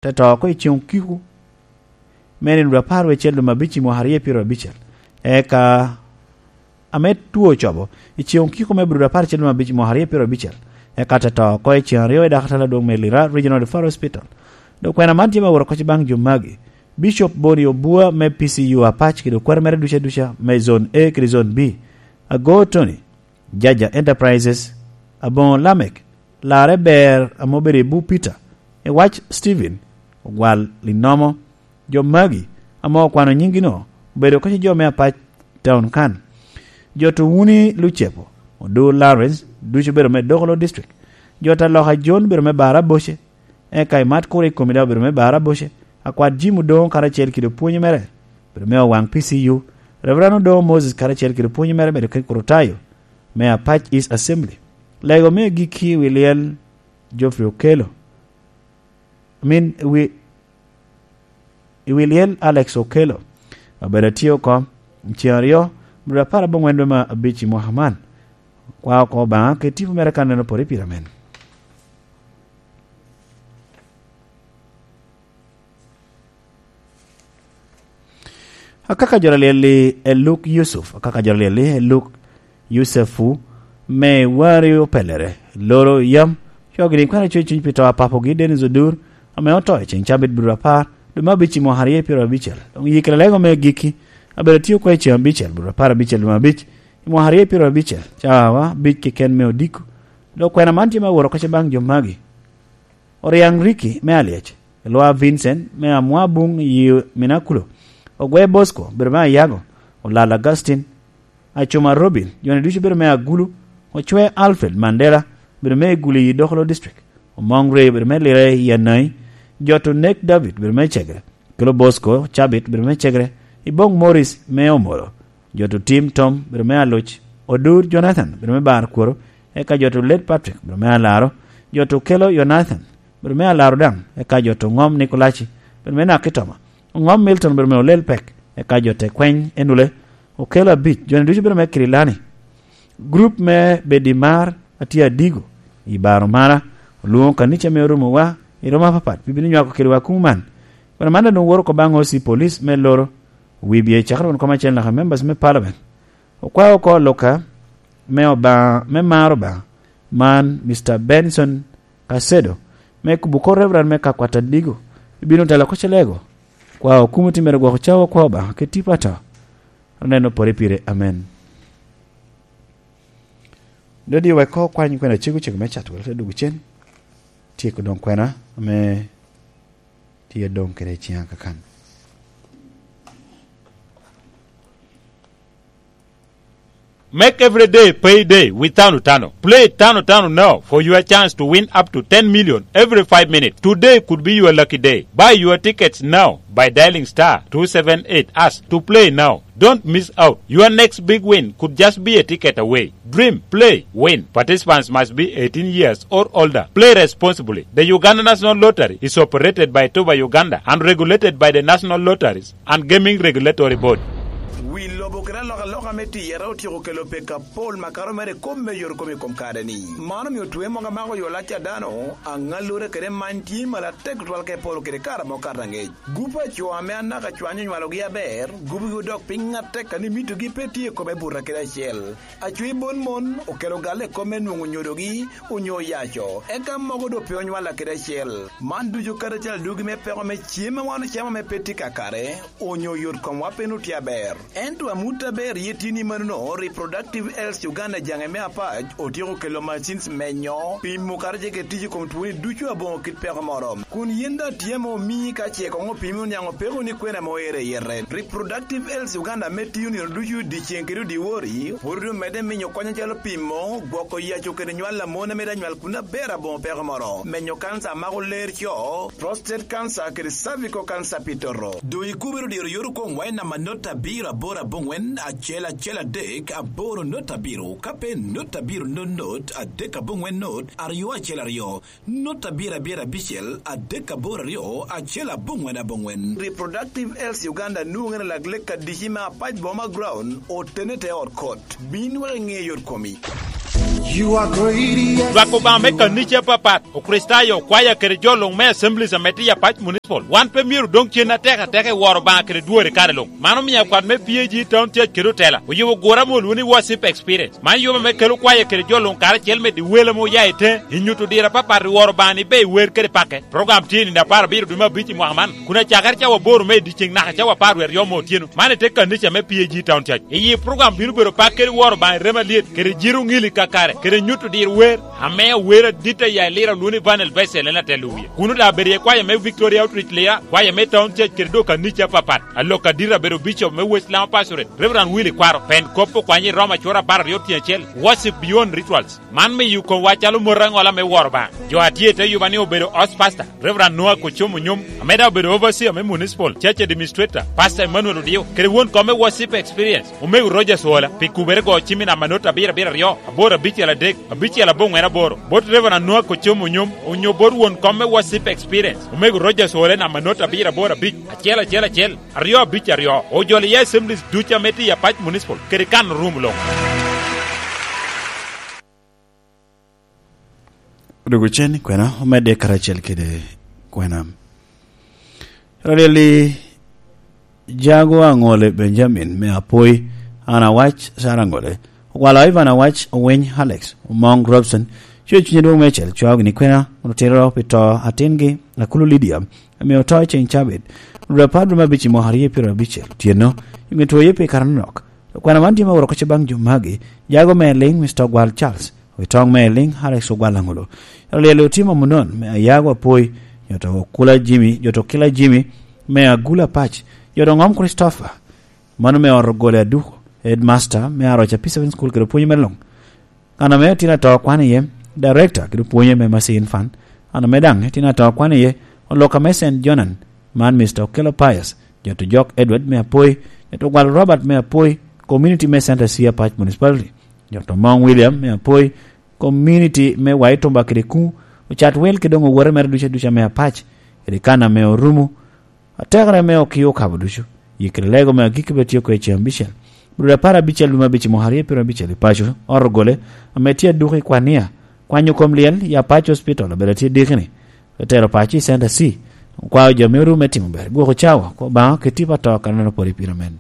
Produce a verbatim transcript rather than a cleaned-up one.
te to oko i ceŋ okiko me nino dwe apar wecel dwe me abic i mwaka aryo pyeraryo abicel. Eka ame two ocobo, i ceŋ okiko me dwe apar wecel dwe me abic i mwaka aryo pyeraryo abicel. Eka te to oko i ceŋ aryo i dakatala adwoŋ me Lira Regional Referral Hospital. Dok kwena man tye me woro kocci baŋ jo magi: Bishop Boni Obua me P C U Apac kede okwero mere duca duca me Zone A kede Zone B, Ago Tony, Jaja Enterprises, Aboŋo Lamek, Larre Ber ame obedo i Bupita, i wac Steven Ogwal Linomo. Jo magi ame okwano nyinggi-no obedo kacce jo me Apac Town kan. Jo Tuwuni Lucepo, Odur Lawrence, ducu obedo me Dokolo District. Jo Taloka John obedo me Bara Boce, eka i mat kuro i komi daŋ obedo me Bara Boce. Akwat Jim Odoŋo karacel kede opwonyo mere obedo me Owaŋ P C U. Reverend Odoŋo Moses karacel kede opwonyo mere obedo kede Kurutayo me Apac East Assembly. Lego me agikki i wi lyel Geoffrey Okello, I mean, i wi, i wi lyel Alex Okello, obedo atye oko ceŋ aryo, dwe apar aboŋwen dwe me abic i mwaka man. Kwa oko Obaŋa kede tipo mere kan en opore pire amen. Akaka jo alyel-li Eluk Yusuf, akaka jo alyel-li Eluk Yucefu, me wari opelere, loro yam, cogi ni kwena coc cuny pi to a papogi Dennis Odur, ame oto i ceŋ cabit biro apar, dwe me abic i mwaka aryo pyeraryo abicel. Doŋ yikere lego me agikki, abedo atye oko i ceŋ abicel, biro apar abicel dwe me abic, i mwaka aryo pyeraryo abicel, cawa abic keken me odiko. Dok kwena man tye me aworo kacce baŋ jo magi. Oriaŋ Ricky me Alyec, Elwa Vincent me Amwabuŋ i Minakulo, Ogwe Bosco, bedo me Ayago, Olal Augustine, Acuma Robin, jo-ni ducu bedo me Agulu, Ocwe Alfred Mandela, bedo me Igulu i Dokolo District, Omoŋ Ray, bedo me Lira i Anai, Joto Nek David, bedo me Cegre, Kelo Bosco Cabit, bedo me Cegre, Iboŋ Morris me Omoro, Joto Tim Tom, bedo me Aluc, Odur Jonathan, bedo me Bar Kworo, eka Joto Led Patrick, bedo me Alaro, Joto Kelo Jonathan, bedo me Alaro daŋ, eka Joto Ŋom Nikolaci, bedo me Nakitoma, Ŋom Milton, bedo me Olel Pek, eka Joto Ekweny Enule, Okelo Abic, jo-ni ducu bedo me Kirilani. Grup me Bedimar a tye Adigo i Baromara olwoŋo kanica me Oromowa i romo apapat pi bino nywako kedwa kuŋ man. Kwena man daŋ woro oko baŋ O C Police me Loro, Wibye, cakere won kom acel naka members me Parliament. Okwao oko Luka me Obaŋa, me maro Obaŋa, man Mister Benson Kasedo, me kubo kor Reverend me Kakwat Adigo, ibino telo oko Celego. Kwa okumo timmere gwok cawa kwa Obaŋa kede tipo ato. Oneno pore pire. Amen. Dodi wek ko kwany kwena cego cego me cat, wek te dwogo cen. Tyeko doŋ kwena ame tye doŋ kede ciŋa kakan. Make every day payday with Tano Tano. Play Tano Tano now for your chance to win up to ten million every five minutes. Today could be your lucky day. Buy your tickets now by dialing star two seven eight hash to play now. Don't miss out. Your next big win could just be a ticket away. Dream, play, win. Participants must be eighteen years or older. Play responsibly. The Uganda National Lottery is operated by Toba Uganda and regulated by the National Lotteries and Gaming Regulatory Board. Wi lobo kede alokaloka me tiyere otyeko kelo pek apol makato mere i kom me yot kom i kom kare-ni. Man omio twe mogo amako yo lac a dano, aŋallure kede many tye malo atek tutwal ka iporo kede kare ma okato angec. Gup a co ame anaka cwanyo onywalogi aber, gubogi odok piny atek, kadi mitogi pe tye i kome buta kede acel. Acwi bon mon okelo galle i kome nwoŋo nyodogi onyo oyaco, eka mogo doŋ pe onywalla kede acel. Man ducu karacel adugi me peko me cem ma wan ocamo ame pe tye kakare, onyo yot komwa pe nwoŋo tye aber. Ento amut aber ye tye ni manono, Reproductive Health Uganda jaŋe me Apac otyeko kelo machines menyo, pimo kadi ce kede tic i kom twoni ducu aboŋo kit peko moro. Kun yin daŋ tye ame omii ka ce koŋ opimi oniaŋ opeko ni kwena ame oero i yete. Reproductive Health Uganda ame tiyo nino ducu dyeceŋ kede dyewor, pwod omedde miyo kony acalo pimo, gwoko yaco kede nywal a mon ame daŋ nywal kun aber aboŋo peko moro, menyo kanca a mako ler co, prostate cancer kede cervical cancer pi toto. Doŋ ikubere dyero yot okoŋ wa i namba not abiro aboro aboŋwen acel acel adek aboro not abiro, ka pe not abiro not not adek aboŋwen not aryo acel aryo, not abiro abiro abicel adek aboro aryo acel aboŋwen aboŋwen. Reproductive Health Uganda nwoŋere lak lek adici me Apac Boma Ground, otene te ot kot. Bin wek iŋe yot komi. You are great, yes. Lwak Obaŋa me kanica apapat, Okricitayo, kwaya kede jo luŋ me Assemblies ame tye i Apac Municipal, wan pe myero odoŋ cen atek ateka i woro Obaŋa kede dwori kare luŋ. Mano omio akwat me P A G Town Church kede otela oyubo gura ame olwoŋo ni Worship Experience. Man yubo ame kelo kwaya kede jo luŋ karacel medo i wel ame oya i te, i nyuto diro apapat i woro Obaŋa ni be i wer kede pake. Program tye i nino apar abiro dwe me abic i mwaka man, kun acakere cawa aboro me i dyeceŋ naka cawa apar wie aryo me otyeno. Man i te kanica me P A G Town Church. I yi program bino bedo pak kede woro Obaŋa i remo alyet, kede jiro ŋili kakare, kede nyuto diro wer, ame awer adit a ya i Lira olwoŋo ni Vanel Bessel en atelo wie. Kuno daŋ abedo iye kwaya me Victoria Outreach Lira, kwaya me Town Church kede dok kanica apapat. Alok adit abedo Bishop me West Lama Pastorate, Reverend Willy Kwaro, pen kop okwanye i Roma cura apar aryo tyen acel, Worship Beyond Rituals. Man miyo komwa calo mot aŋola me woro Obaŋa. Jo a tye i te yuba ni obedo host pastor, Reverend Noah Kochom Onyom, ame daŋ obedo overseer me municipal church administrator, Pastor Emmanuel Odio, kede won kom me Worship Experience, Omego Rogers Ola, pi kubere go cim i namba not abiro abiro aryo, aboro abicel adek, abicel aboŋwen aboro, bot Reverend Noah Kochom Onyom, onyo bot won kom me Worship Experience, Omego Rogers Ola i namba not abiro aboro abic, acel acel acel, aryo abic aryo, ojolo iye assemblies ducu ame tye i Apac Municipal, kede kan rum luŋ. Odwogo cen i kwena, omedde karacel kede kwena. Raleli Jago Aŋole Benjamin me Apoi, Ana Wac, Sara Aŋole, Ogwalo Ivan Awac, Owiny Alex, Omoŋ Robson, cuyo cunye dwoŋ meicel, cwao gini kwena, kun otito pi to atingi, Akulu Lydia, ame oto i ceŋ cabit, dwe apar dwe me abic i mwaka aryo pyero abicel, otyeno, i ŋe two ye pi kare anok. Kwena man tye me woro kocce baŋ jo magi, Jago me Eliŋ, Mister Ogwal Charles, Owitoŋ me Eliŋ, Alex Ogwal Aŋolo. Raleli Otima Munon, me Ayago Apoi, Joto Okula Jimmy, Joto Okila Jimmy, me Agula Pac, Joto Ŋom Christopher, mano me ot ogole aduko, headmaster me Aroca P seven School kede pwonyo me luŋ. Kan ame tin ato kwan iye, director kede pwonyo me Masin Fan. Kan ame daŋ tin ato kwan iye, oloka me Saint Jonan, man Mister Okello Pius, Joto Jok Edward me Apoi, Joto Ogwal Robert me Apoi, community me Center C Apac Municipality, Joto Mong William me Apoi, community me Waitumba kede Kuŋ, ocat wel kede doŋ owote mere duca duca me Apac, kede kan ame orumo, Atekere me okio okabo ducu, yikere lego me agikki bed tye oko i ceŋ abicel. Dwe apar abicel dwe me abic i mwaka aryo pyero abicel i paco, ot ogole, ame tye aduko i Kwania, kwanyo kom lyel i Apac Hospital, obedo tye dikini, otero paco i Center C, okwao jo me oru me timo ber, gwoko cawa, kwo Obaŋa, keti pa to, kan meno pwod i pire men.